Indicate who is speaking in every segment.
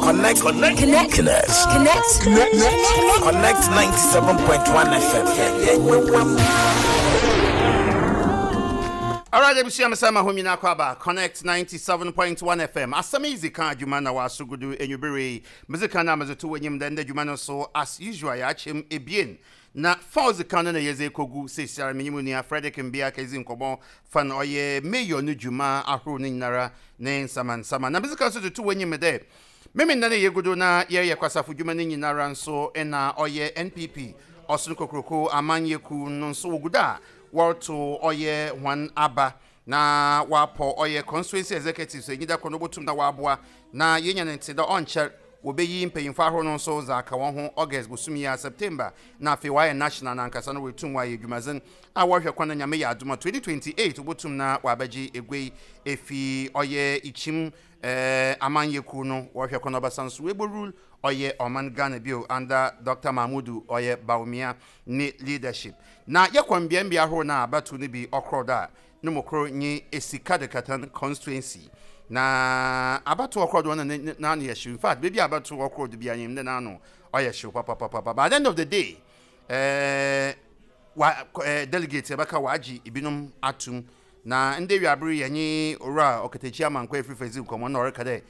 Speaker 1: Connect. Connect.
Speaker 2: Connect.
Speaker 1: Connect.
Speaker 2: Connect.
Speaker 1: Connect 97.1 FM.
Speaker 3: Alright, ebusua mesɛ ma ho nyinaa kɔ aba Connect 97.1 FM. Asɛm yi dzi kan adwuma na wɔaso gudu enwubere yi. Medzi kan na medze to w'enyim dɛ ndɛ dwuma no so, as usual, yɛakyɛ mu ebien. Na fa odzi kan no na yɛdze ekogu seseiara menye mo nua Frederick Mbia kedzi nkɔmbɔ fa no ɔyɛ Mayor no dwuma ahorow no nyinara ne nsamansama. Na medzi kan so dze to w'enyim dɛ Memenda no yegu do na yɛreyɛ kwasafo dwuma no nyinara nso na ɔyɛ NPP Ɔson Kokroko Amanyɛ Kuw no nso wogu do a wɔrotow ɔyɛ hɔn aba na wɔapɔw ɔyɛ Constituency Executives a enyida kor no wobotum na wɔaboa na yenya no ntse dɛ ɔnnkyɛr wobeyi mpanyimfo ahorow no nso dze aka hɔn ho August bosoom yi a, September, na afei wɔayɛ National no ankasa no woetum wɔayɛ edwumadzen a wɔrohwɛ kwan na Nyame yɛ adom a 2028 wobotum na wɔabɛgye egua yi efi ɔyɛ Ikyim Eh amanyɛ kuw no wɔhwɛ kwan ɔbɛsan so ebo rule ɔyɛ ɔman Ghana bio under Doctor Mahmudu ɔyɛ Bawumia ne leadership. Na yɛkɔ mbea mbea ahorow no a abatow no bi ɔkrɔ do a no mu kor nye Esika Dekatan constituency. Na abatow ɔkrɔ do no na n'ano yɛ hyew, infact beebi a abatow ɔkrɔ do biara nyim dɛ n'ano ɔyɛ hyew papapapa, but at the end of the day eh wa eh delegates yɛbɛka wɔagye binom atum. Na ndɛ ewiaber yi yɛnye Owura Ɔkatakyie Amankwa Efirfa dzi nkɔmbɔ na ɔreka dɛ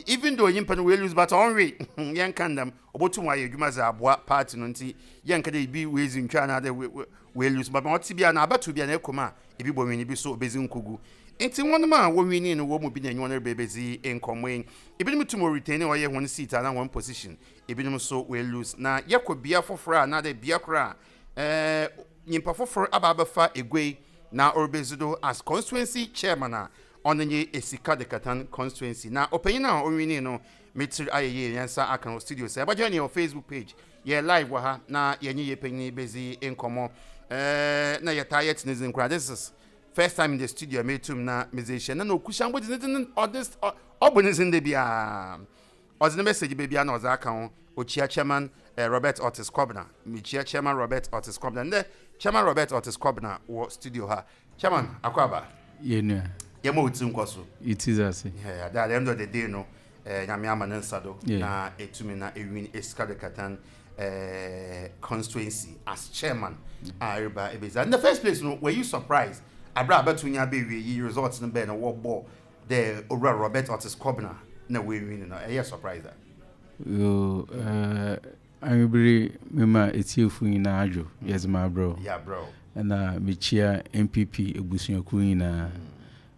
Speaker 3: even though nyimpa no oelose but ɔnnwe, yɛnnka no dɛm, obotum ɔayɛ edwuma dze aboa party no ntsi yɛnnka dɛ bi oedzi ntwa anaadɛ oelose, but ma ɔtse biara no abatow biara no ekɔ mu a bi bɔwin bi so obedzi nkogu. Ntsi hɔn a wowinii no hɔn mu bi na enye hɔn reba ebedzi nkɔmbɔ yi. Binom tum wɔretain ɔyɛ hɔn seat anaa hɔn position, binom so woelose. Na yɛkɔ bea fofor a anaadɛ bea kor a nyimpa fofor aba abɛfa egua yi na oribedzi do as constituency chairman a ɔno nye Esika Dekatan constituency. Na ɔpanyin a owinii no me tsir ayɛ yie, hɛn nsa aka no wɔ studio. Sɛ ebɔjoin hɛn wɔ Facebook page, yɛyɛ live wɔ ha na yɛnye yɛn panyin yi bedzi nkɔmbɔ. Na yɛtaa yɛtse ne dzin koraa. This is first time in the studio a metum na medze ehyia no na Okusiambo dze ne dzin ɔdze ɔbɔ ne dzin da biara. Ɔdze ne message ba biara na ɔdze aka ho, Okyia Chairman Robert Otis Kobena. Mekyia Chairman Robert Otis Kobena. Ndɛ Chairman Robert Otis Kobena wɔ studio ha. Chairman, akwaaba.
Speaker 4: Yɛ nua.
Speaker 3: Yɛma wo tsir nkɔ so.
Speaker 4: Ye tsir ase.
Speaker 3: Yeah, at the end of the day no, Nyame ama ne nsa do na etumi na ewin Esika de Katan constituency as chairman a ereba ebedzi. In the first place no, were you surprised aber a abatow nye aba ewie yi results no bɛɛ na wɔbɔ dɛ Owura Robert Otis Kobena na oewin no, ɛyɛ surprise a?
Speaker 4: Yoo, eh, anwummere mema atiefo nyinaa adwo, yɛdze ma abrɛ wo.
Speaker 3: Yɛabrɛ wo.
Speaker 4: Ɛna mekyia NPP abusuakuo nyinaa,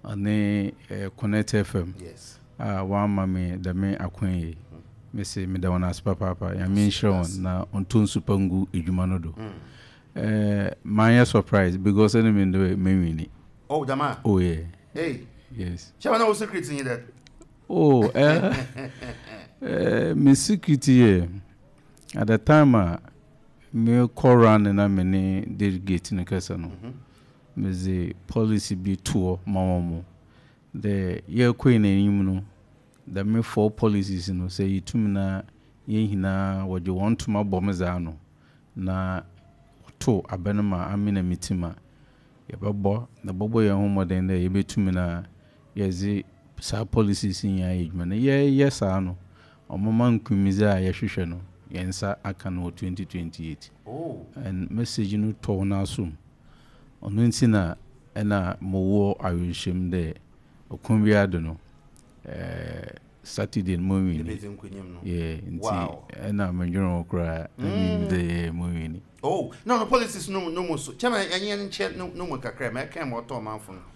Speaker 4: ɔne eh, Connect FM
Speaker 3: Yes.
Speaker 4: a wɔama me dɛm akwan yi. Mese meda wɔn ase papaapa. Nyame nhyira wɔn na ɔntɔ nsu pa ngu adwuma no do. Eh, manyɛ surprise because ɛne me ndɛ menwini.
Speaker 3: Oh, dɛm a?
Speaker 4: Oh yeah.
Speaker 3: Hey.
Speaker 4: Yes.
Speaker 3: Kyɛ na wo secret nye dɛ?
Speaker 4: Oh, eh, me secret yɛ at the time a me kɔ run na me ne delegate no kasa no, medze policy bi toɔ ma wɔn mo dɛ yɛrekɔ yɛn anim no, dɛm four policies no sɛ yɛtum na yɛn nyinaa wɔgye wɔn ntoma bɔ me dze ano na wɔto abɛ no ma ame na me team a, yɛbɛbɔ na bɔbɔ yɛn ho mmɔden dɛ yɛbɛtumi na yɛdze saa policies yi nyinaa yɛ adwuma. Na yɛyɛ saa no, ɔmoma nkunimdzi a yɛhwehwɛ no, yɛn nsa aka no wɔ 2028.
Speaker 3: Oh.
Speaker 4: And message no tɔɔ n'asom. Ɔno nti na ɛna mowɔ awerɛhyɛmu dɛ ɔkwan biara do no, eh, Saturday no mowini.
Speaker 3: Ebedzi nkunyim no.
Speaker 4: Yeah, nti
Speaker 3: Wow.
Speaker 4: ɛna mendwene ho koraa na menim dɛ yeah, mowini.
Speaker 3: Oh, no, no policies no no mu so. Chairman, ɛnyɛ nkyɛ no no mu kakra, ma ɛka ma ɔtɔ ɔmanfo no.